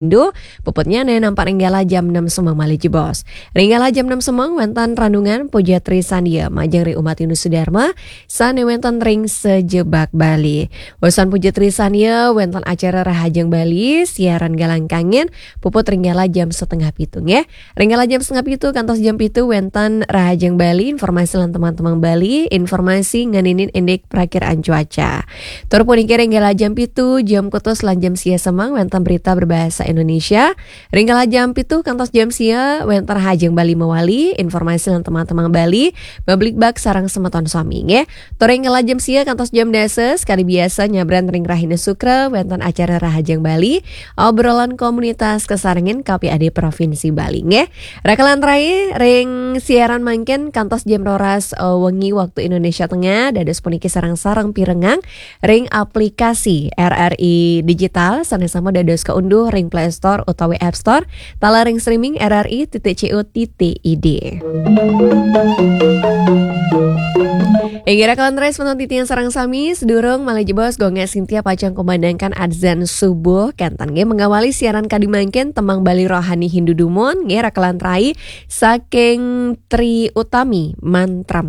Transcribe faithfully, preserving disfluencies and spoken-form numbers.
Indo, puputnya ne nampak ring galah jam enam semeng malih jebos. Ring galah jam enam semeng wénten renungan Puja Trisandya majeng ring umat Hindu sedharma, sané wénten ring sajebag Bali. Wusan Puja Trisandya wénten acara Rahajeng Bali, siaran Galang Kangin, puput ring galah jam setengah pitu nggih. Ring galah jam setengah pitu kantos jam pitu wénten Rahajeng Bali, informasi lan teman-teman Bali, informasi ngeninin indik prakiraan cuaca. Tur puniki ring galah jam pitu, jam kutus lan jam sia semeng wénten berita berbahasa Indonesia. Ring galah jam pitu kantos jam sia wénten Rahajeng Bali mawali, informasi lan teman-teman Bali, mabligbagan sareng semeton sami nggih. Tur ring galah jam sia kantos jam dasa, sekadi biasa nyabran ring rahina Sukra wénten acara Rahajeng Bali, obrolan komunitas kasarengin K P A D Provinsi Bali nggih. Rakalan rai ring siaran mangkin kantos jam roras, eh, wengi waktu Indonesia Tengah, dados puniki sareng-sareng pirengang ring aplikasi R R I Digital, sané sampun dados kaunduh ring Play Store utawi App Store, taler ring streaming R R I titik C O titik I D. Inggih rakalan rai semeton titiang sareng sami, sedurung malih jebos Gung Sintia pacang kumandangkan adzan subuh, kénten nggih mengawali siaran kadi mangkin tembang Bali Rohani Hindu dumun, nggih rakalan rai saking Tri Utami Mantram